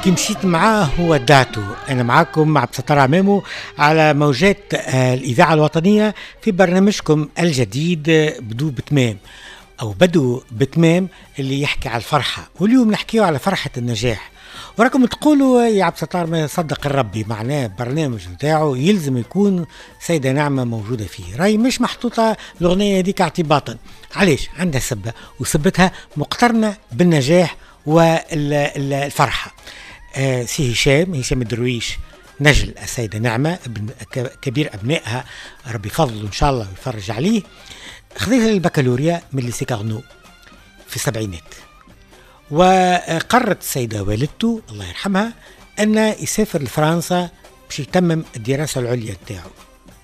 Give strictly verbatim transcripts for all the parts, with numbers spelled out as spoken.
كي مشيت معاه ودعته. أنا معاكم عبد الستار عمامو على موجات الإذاعة الوطنية في برنامجكم الجديد بدو بتمام أو بدو بتمام اللي يحكي على الفرحة، واليوم نحكيه على فرحة النجاح. وراكم تقولوا يا عبد الستار ما يصدق الربي، معناه برنامج نتاعو يلزم يكون سيدة نعمة موجودة فيه، راي مش محطوطة الأغنية هذيك اعتباطا. علاش؟ عندها سبة، وسبتها مقترنة بالنجاح والفرحة. آه سي هشام، هشام الدرويش نجل السيدة نعمة، ابن كبير أبنائها، ربي فضله إن شاء الله ويفرج عليه، خذيت البكالوريا من lycée Carnot في السبعينات، وقررت السيدة والدته الله يرحمها أن يسافر لفرنسا باش يتمم الدراسة العليا نتاعو،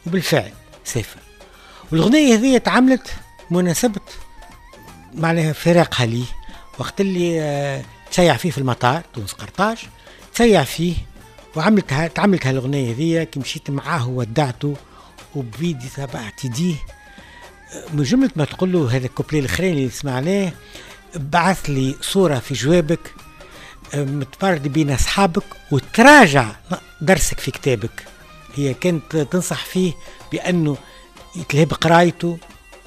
وبالفعل سافر. والأغنية هذه تعملت مناسبة معناها فراقها ليه وقت اللي تشيع فيه في المطار تونس قرطاج، تشيع فيه وعملتها تعملت هالأغنية هذه كي مشيت معاه وودعته وبيدي تبعت يديه. من جملة ما تقول له هذا الكوبلي الأخرين اللي سمعناه، بعث لي صورة في جوابك متفرد بين أصحابك وتراجع درسك في كتابك. هي كانت تنصح فيه بأنه يتلهي بقرايته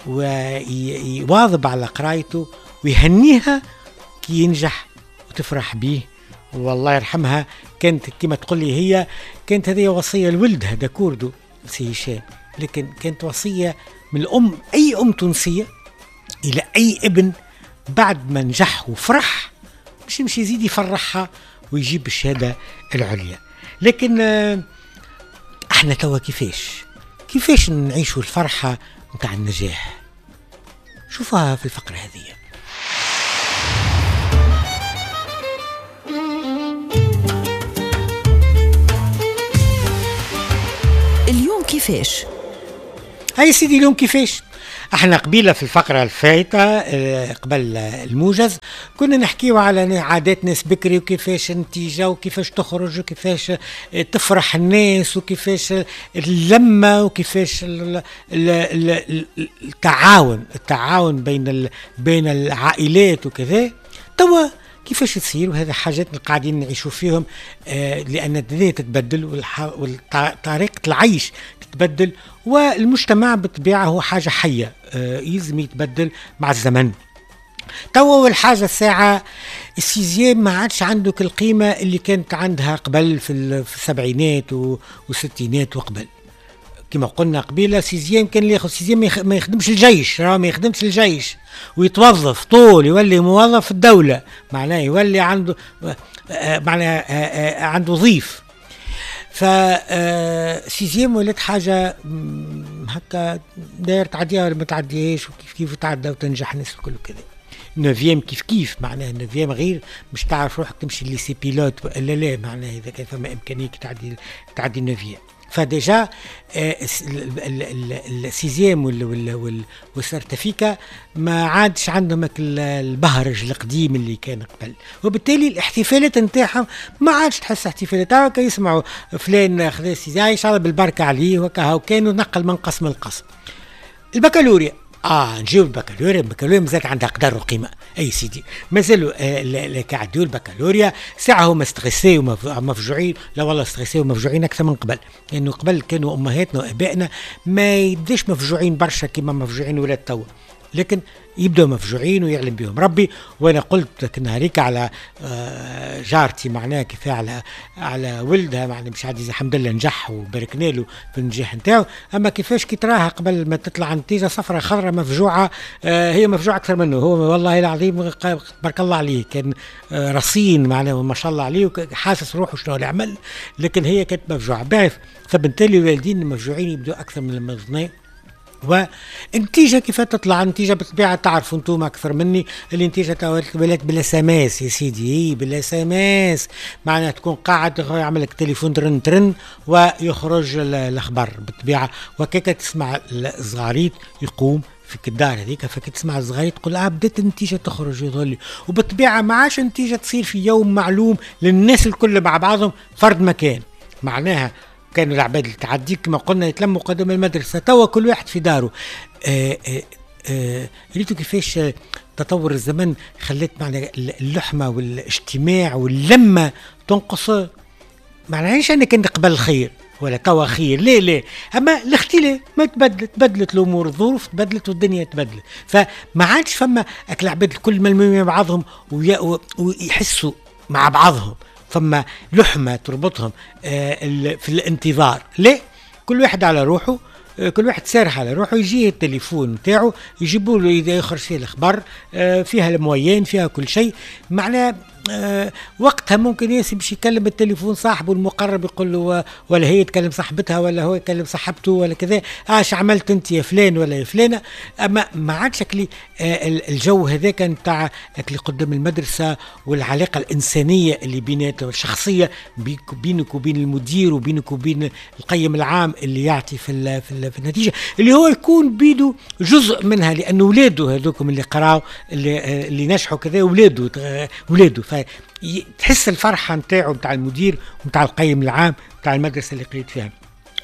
ويواظب على قرايته ويهنيها كي ينجح وتفرح به. والله يرحمها كانت كما تقول لي هي كانت هذه وصية لولدها داكوردو سي هشام، لكن كانت وصية من الأم، أي أم تونسية إلى أي ابن بعد ما نجح وفرح مش يمشي يزيد يفرحها ويجيب الشهادة العليا. لكن احنا توا كيفاش كيفاش نعيشوا الفرحة متاع النجاح؟ شوفها في الفقرة هذه. اليوم كيفاش؟ هاي سيدي اليوم كيفاش؟ احنا قبيلة في الفقرة الفايتة قبل الموجز كنا نحكيو على عادات ناس بكري وكيفاش النتيجة وكيفاش تخرج وكيفاش تفرح الناس وكيفاش اللمة وكيفاش التعاون التعاون بين بين العائلات وكذا. توا كيفاش تصير؟ وهذا حاجات قاعدين نعيشوا فيهم لأن الدنيا تتبدل وطريقة العيش تتبدل، والمجتمع بالطبيعة هو حاجة حية يلزم يتبدل مع الزمن. توا والحاجة الساعة ال sixième ما عادش عندك القيمة اللي كانت عندها قبل في السبعينات والستينات وقبل. كما قلنا قبيلة sixième كان اللي ياخذ sixième ما يخدمش الجيش، راه ما يخدمش الجيش ويتوظف طول، يولي موظف في الدولة، معناه يولي عنده معناه عنده ضيف. ف sixième ولات حاجة هكا داير تعديها ولا ما تعديهاش، وكيف كيف تعدى وتنجح الناس الكل وكذا. neuvième كيف كيف، معناه neuvième غير مش تعرف روحك تمشي lycée pilote ولا لا، معناه اذا كان فما امكانية تعدي تعدي neuvième. ف déjà ال sixième وال certificat ما عادش عندهم البهرج القديم اللي كان قبل، وبالتالي الاحتفالات نتاعهم ما عادش تحس احتفالات. هكا يسمعوا فلان خذا sixième ان شاء الله بالبركة عليه وكا، وكانوا نقل من قسم لقسم. البكالوريا اه نجيو البكالوريا، البكالوريا مازالت عندها قدر وقيمه. اي سيدي مازالوا آه كعدوا البكالوريا ساعة هما stressés ومفجوعين، لا والله stressés ومفجوعين اكثر من قبل، لانه قبل كانوا امهاتنا وابائنا ما يبداش مفجوعين برشا كيما مفجوعين ولاد توا، لكن يبداو مفجوعين ويعلم بهم ربي. وانا قلت لك نهاريك على جارتي معناها كيف على على ولدها، معناها مش عادي الحمد لله نجح وباركنا له في النجاح نتاعو، اما كيفاش كي تراها قبل ما تطلع النتيجة صفرة خضراء مفجوعه، هي مفجوعه اكثر منه هو، والله العظيم بارك الله عليه كان رصين معناها ما شاء الله عليه وحاسس روحه شنو اللي عمل، لكن هي كانت مفجوعه. بعرف فبالتالي الوالدين المفجوعين يبدو اكثر من المظنين. والنتيجة كيف تطلع النتيجة بالطبيعة تعرفوا انتم اكثر مني، النتيجة ولات بال SMS يا سيدي، بال SMS معناها تكون قاعد يعمل لك تليفون ترن ترن ويخرج الاخبار بالطبيعة، وكيك تسمع الزغاريت يقوم في الدار هذيك، فكي تسمع الزغاريت تقول اه بدات النتيجة تخرج يظل. وبالطبيعه ما عادش النتيجة تصير في يوم معلوم للناس الكل مع بعضهم فرد مكان، معناها كانوا العباد اللي تعديك كما قلنا يتلموا قدام المدرسة، توا كل واحد في داره. آه آه آه ريتو كيفاش تطور الزمن خلت معنا اللحمة والاجتماع واللمه تنقص. معناش انا كنت قبل خير ولا توا خير، لا لا، اما الاختلاف ما تبدلت، تبدلت الامور، الظروف تبدلت والدنيا تبدلت، فما عادش فما اكل العباد الكل ملمومين مع بعضهم ويحسوا مع بعضهم، فما لحمه تربطهم آه في الانتظار. لا، كل واحد على روحه، كل واحد سارح على روحه، يجي التليفون نتاعو يجيبوا له اذا يخرج فيه الخبر، فيها ال moyenne، فيها كل شيء. معناه وقتها ممكن ياسي باش يكلم التليفون صاحبه المقرب يقول له، ولا هي تكلم صاحبتها ولا هو يكلم صاحبته ولا كذا، اش عملت انت يا فلان ولا يا فلانه. اما ما عادش اكلي الجو هذاك نتاع اللي قدام المدرسة والعلاقة الانسانية اللي بيناتهم الشخصية بينك وبين المدير وبينك وبين القيم العام اللي يعطي في في النتيجة، اللي هو يكون بيده جزء منها، لان ولاده هذوكم اللي قراوا اللي, اللي نجحوا كذا ولاده ولاده، فتحس الفرحة نتاعو نتاع المدير ونتاع القيم العام نتاع المدرسة اللي قريت فيها.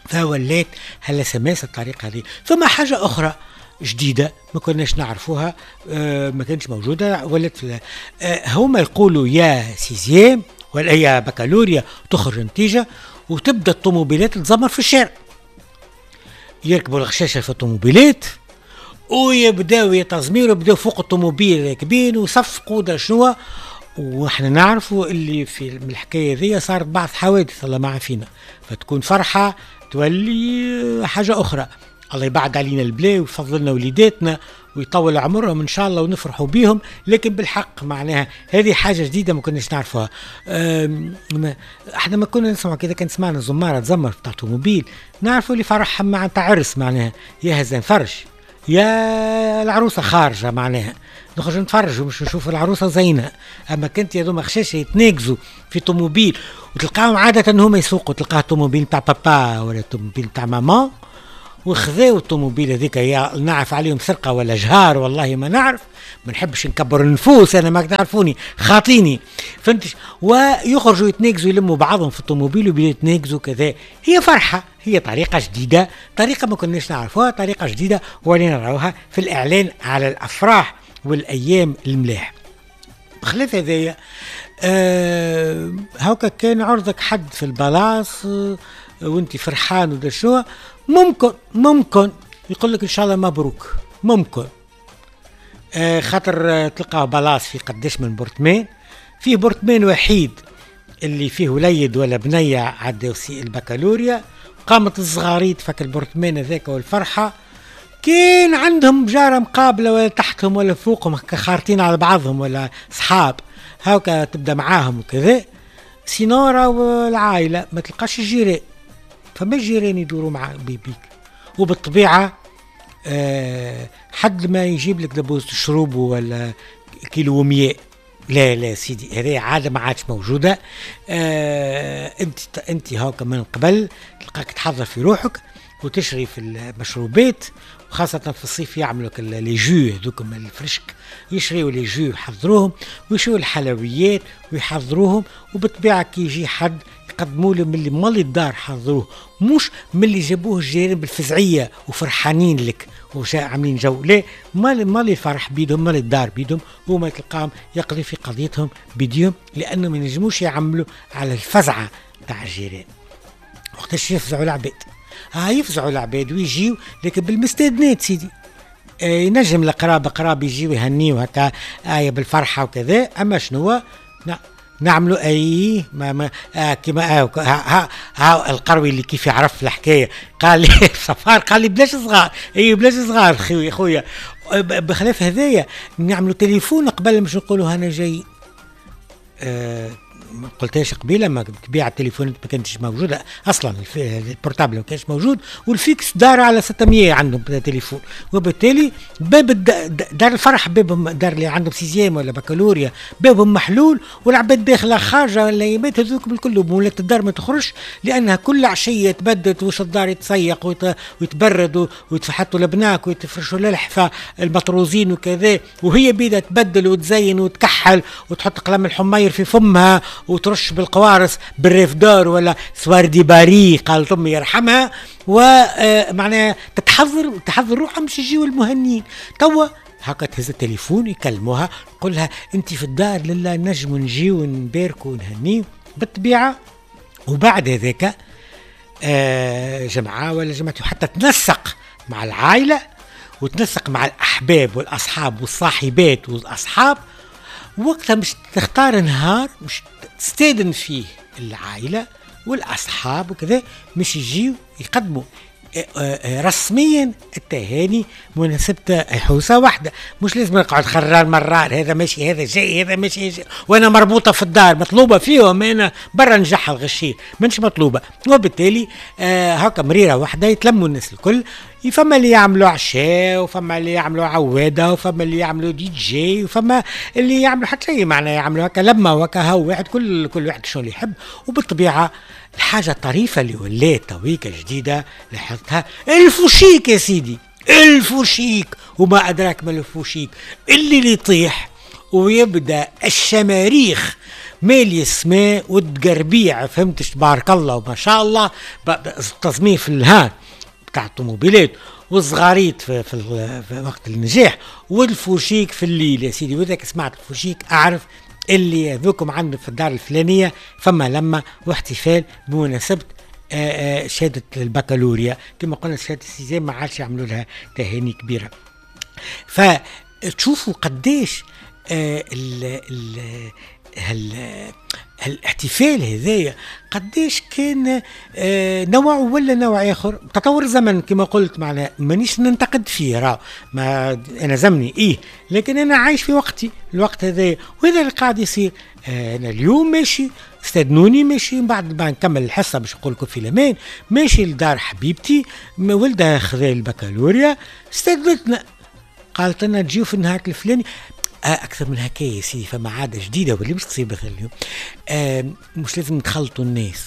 فولات هلا سماس الطريقة هذه. ثم حاجة اخرى جديدة ما كناش نعرفوها، آه ما كانتش موجودة، ولات آه هما يقولوا يا sixième ولا يا بكالوريا تخرج نتيجة وتبدا الطوموبيلات تزمر في الشارع، يركبوا الغشاشه في الطوموبيلات ويبداو يتزميروا، يبداو فوق الطوموبيل راكبين وصفقوا دا شنو. واحنا نعرفوا اللي في الحكاية ذي صارت بعض حوادث الله ما عافينا، فتكون فرحه تولي حاجة اخرى. الله يبعد علينا البلاء ويفضل لنا وليداتنا ويطول عمرهم ان شاء الله ونفرحوا بيهم، لكن بالحق معناها هذه حاجة جديدة ما كناش نعرفوها. احنا ما كنا نسمع كذا، كان سمعنا زماره تزمر بتاع طوموبيل نعرفوا اللي فرحهم مع تاع عرس، معناها يا هزان فرش يا العروسة خارجه، معناها نخرج نتفرجوا مش نشوف العروسة زينة. اما كنت يا دوما خشاشه يتناقزوا في طوموبيل وتلقاهم عادة هما يسوقوا، تلقاه طوموبيل تاع بابا ولا طوموبيل تاع ماما، وخذاو الطوموبيل هذيك، يا نعرف عليهم سرقه ولا جهار والله ما نعرف، ما نحبش نكبر النفوس انا، ما تعرفوني خاطيني، فهمتش. ويخرجوا يتناقزوا يلموا بعضهم في الطوموبيل ويبداو يتناقزوا كذا. هي فرحه، هي طريقه جديدة، طريقه ما كناش نعرفوها، طريقه جديدة ولينا نراوها في الاعلان على الافراح والايام الملاح. بخلاف هذايا آه هاكا كان عرضك حد في البلاص آه وانت فرحان ودا شنو، ممكن ممكن يقول لك ان شاء الله مبروك، ممكن آه خاطر تلقاه بلاص في قداش من برطمان، فيه برطمان وحيد اللي فيه وليد ولا بنيه عداو البكالوريا، قامت الصغاريت فك البرطمان هذاك والفرحه، كان عندهم جاره مقابله ولا تحتهم ولا فوقهم خارطين على بعضهم ولا صحاب هاكا تبدا معاهم وكذا. sinon راهو العائلة ما تلقاش الجيران، فما الجيران يدوروا مع بيك، وبالطبيعه أه حد ما يجيب لك دبوز تشربه ولا كيلو ومية، لا لا سيدي، هذه عادة ما عادش موجودة. أه انت انت هاكا من قبل تلقاك تحضر في روحك وتشري في المشروبات، وخاصة في الصيف يعملوا les jus هذوك الفرشك، يشريوا les jus يحضروهم، ويشريوا الحلويات ويحضروهم، وبالطبيعة كي يجي حد يقدموا له من اللي مالي الدار حضروه، مش من اللي جابوه الجيران بالفزعية وفرحانين لك وعاملين جو، لا، مالي مالي الفرح بيدهم، مالي الدار بيدهم، هما تلقاهم يقضي في قضيتهم بيديهم، لأنه ما ينجموش يعملوا على الفزعة تاع الجيران. وقتاش يفزعوا العباد؟ اه يفزعوا العباد ويجيو، لكن بالمستدنات سيدي. آه ينجم القراب قراب يجيو يهنيو هكا آية بالفرحة وكذا، أما شنو نعملوا أي ما ما آه كيما آه ها, ها, ها القروي اللي كيف يعرف الحكاية قال لي سفار، قال لي بلاش صغار، أي بلاش صغار خويا خويا. بخلاف هذايا نعملوا تليفون قبل مش نقولوا أنا جاي. آه ما قلتهاش قبيلة، ما تبيع التليفونات ما كانتش موجودة اصلا، ال portable ما كانش موجود، وال fixe دار على ستمية عندهم تليفون، وبالتالي باب دار الفرح، باب دار اللي عندهم sixième ولا بكالوريا بابهم محلول، والعباد داخله خارجه الايامات هذوك بالكل، ولات الدار ما تخرجش لانها كل عشية تبدت وش الدار يتسيق ويتبرد ويتفحطوا الابناك ويتفرشوا الالحفه المطروزين وكذا، وهي بيدا تبدل وتزين وتكحل وتحط قلم الحمير في فمها وترش بالقوارص بال Rêve d'or ولا Soir de Paris قالت امي يرحمها، ومعناها تتحضر وتحضر وتحضر روحها مش يجيو المهنيين. توا هكا تهز التليفون يكلموها، قول لها انت في الدار لله نجموا نجيو ونباركوا ونهنيو بالطبيعة. وبعد هذاك آه جمعه ولا جمعتين حتى تنسق مع العائلة وتنسق مع الاحباب والاصحاب والصاحبات والاصحاب. وقتها مش تختار نهار مش تستاذن فيه العائلة والاصحاب وكذا، مش يجيو يقدموا رسميا التهاني مناسبة حوسة واحدة. مش لازم نقعد خرار مرار، هذا ماشي هذا جاي هذا ماشي جاي، وانا مربوطة في الدار مطلوبة فيهم، انا برا نجح الغشير مانيش مطلوبة. وبالتالي آه هكا مريرة واحدة يتلموا الناس الكل، فما اللي يعملوا عشاء وفما اللي يعملوا عوادة وفما اللي يعملوا دي جي وفما اللي يعملوا حتى شيء، معناها يعملوا هكا لما وهكا هو واحد كل كل واحد شنو اللي يحب. وبالطبيعة الحاجة الطريفة اللي ولات تويكة جديدة لاحظتها الفوشيك يا سيدي، الفوشيك وما أدراك ما الفوشيك، اللي اللي يطيح ويبدأ الشماريخ مالي السماء والتقربيع، فهمتش تبارك الله وما شاء الله، التصميم في الهان بتاع الطوموبيلات والصغاريت في, في, في وقت النجاح، والفوشيك في الليل يا سيدي. وإذا سمعت الفوشيك أعرف اللي ذوكم عندنا في الدار الفلانية فما لما واحتفال بمناسبة شهادة البكالوريا. كما قلنا شهادة ال sixième ما عادش يعملوا لها تهاني كبيرة. فتشوفوا قديش ال ال هال الاحتفال هذايا قديش كان نوع ولا نوع اخر. تطور الزمن كما قلت، معنا مانيش ننتقد فيه، راه ما انا زمني ايه، لكن انا عايش في وقتي الوقت هذايا وهذا اللي قاعد يصير. انا اليوم ماشي استاذنوني ماشي من بعد ما نكمل الحصة باش نقول لكم في الامان، ماشي لدار حبيبتي ولدها خذا البكالوريا، استاذنتنا قالت لنا تجيو في النهار الفلاني. اكثر من هكا يا سيدي فما عادة جديدة واللي مش تصير مثلا اليوم، آه مش لازم نتخلطوا الناس،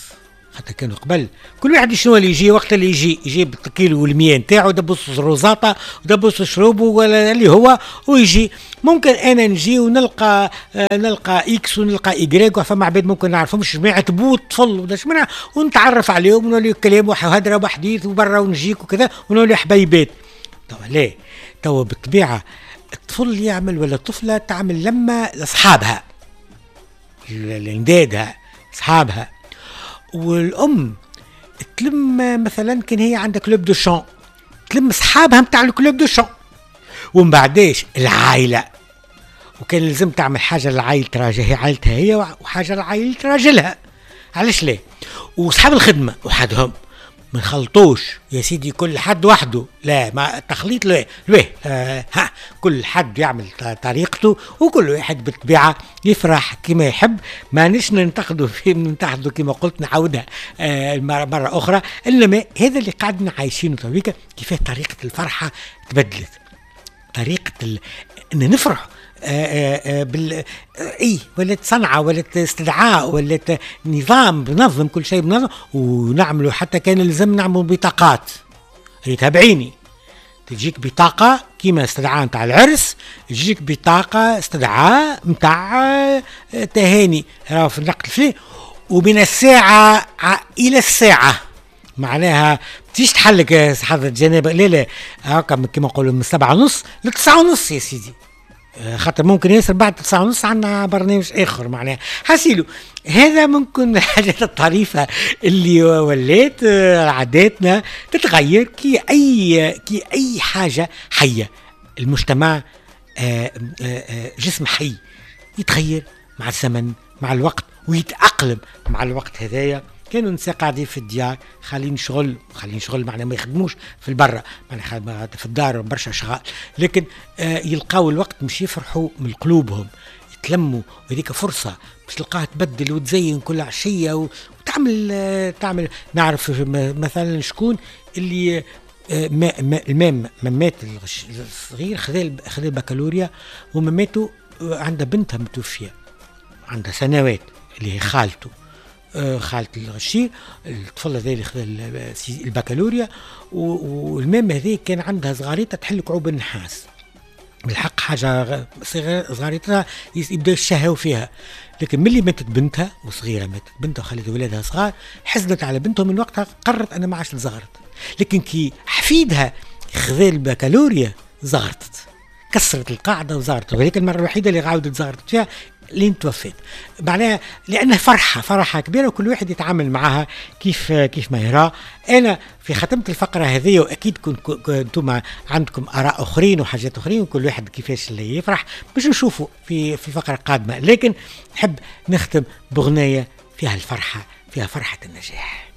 حتى كانوا قبل كل واحد شنو اللي يجي وقت اللي يجي يجيب الكيلو والمية نتاعو دبوس الروزاطه ودبوس شروبه ولا اللي هو ويجي. ممكن انا نجي ونلقى آه نلقى X ونلقى Y، فما عباد ممكن نعرفهمش جماعة بوت طفل ولا شمنع، ونتعرف عليهم ونولي كلام وهدره وحديث وبرا ونجيك وكذا ونولي حبيبات. توا لا، توا بالطبيعة الطفل يعمل ولا الطفلة تعمل لما لاصحابها لاندادها اصحابها، والام تلم مثلا كان هي عندها club de chant تلم اصحابها نتاع ال club de chant، ومن بعداش العائلة، وكان لازم تعمل حاجة لعائلة راجلها عائلتها هي وحاجه لعائلة راجلها، علاش لا؟ واصحاب الخدمة وحدهم ما نخلطوش يا سيدي، كل حد وحده، لا ما التخليط لا لا آه ها كل حد يعمل طريقته وكل واحد بالطبيعة يفرح كما يحب. ما نش ننتقدوا فيه، ننتقدوا كما قلت نعاودها آه مرة اخرى، انما هذا اللي قاعدين عايشينه تويكا كيفاه طريقه الفرحة تبدلت، طريقه ال... ان نفرح آآ آآ بال اي ولات صنعه ولات استدعاء ولات نظام، بنظم كل شيء بنظم، ونعملوا حتى كان لازم نعملوا بطاقات. ريتها بعيني، تجيك بطاقة كيما استدعاء نتاع العرس، تجيك بطاقة استدعاء نتاع تهاني راهو في النقل فيه، ومن الساعة الى الساعة معناها تيجي تحلك حضرة جنابه، لا لا هكا كيما نقولوا من سبعة ونص لتسعة ونص يا سيدي، خاطر ممكن ياسر بعد تسعة ونص عندنا برنامج اخر معناها. حسيلو هذا ممكن الحاجات الطريفة اللي ولات عاداتنا تتغير كي اي كي اي حاجة حيه. المجتمع جسم حي يتغير مع الزمن مع الوقت ويتاقلم مع الوقت. هذايا كانوا النساء قاعدين في الديار خالين شغل، خالين شغل معناها ما يخدموش في البرة، معناها في الدار برشا شغال، لكن آه يلقاو الوقت مش يفرحوا من قلوبهم، يتلموا، وهذيك فرصة باش تلقاها تبدل وتزين كل عشية وتعمل آه تعمل. نعرف مثلا شكون اللي آه ما ما المام ممات الصغير خذا خذا البكالوريا ومماته عندها بنتها متوفية عندها سنوات اللي هي خالته، خالة الغشير، الطفل هذا اللي خذا البكالوريا، والمام هذه كان عندها صغاريتها تحل كعوب النحاس، بالحق حاجة صغاريتها يبداو يشهوا فيها، لكن ملي ماتت بنتها وصغيره ماتت بنتها وخلت ولادها صغار، حزنت على بنتها من وقتها قررت انا ما عادش نزغرت. لكن كي حفيدها خذا البكالوريا زغرتت، كسرت القاعدة وزغرتت، وهذيك المرة الوحيدة اللي عاودت زغرتت فيها لين توفيت. معناها لانها فرحه، فرحه كبيره، وكل واحد يتعامل معها كيف كيف ما يرى. انا في ختمت الفقرة هذه، واكيد انتم عندكم اراء اخرين وحاجات اخرين، وكل واحد كيفاش اللي يفرح باش نشوفوا في في الفقرة القادمه، لكن نحب نختم بغنايه فيها الفرحه، فيها فرحه النجاح.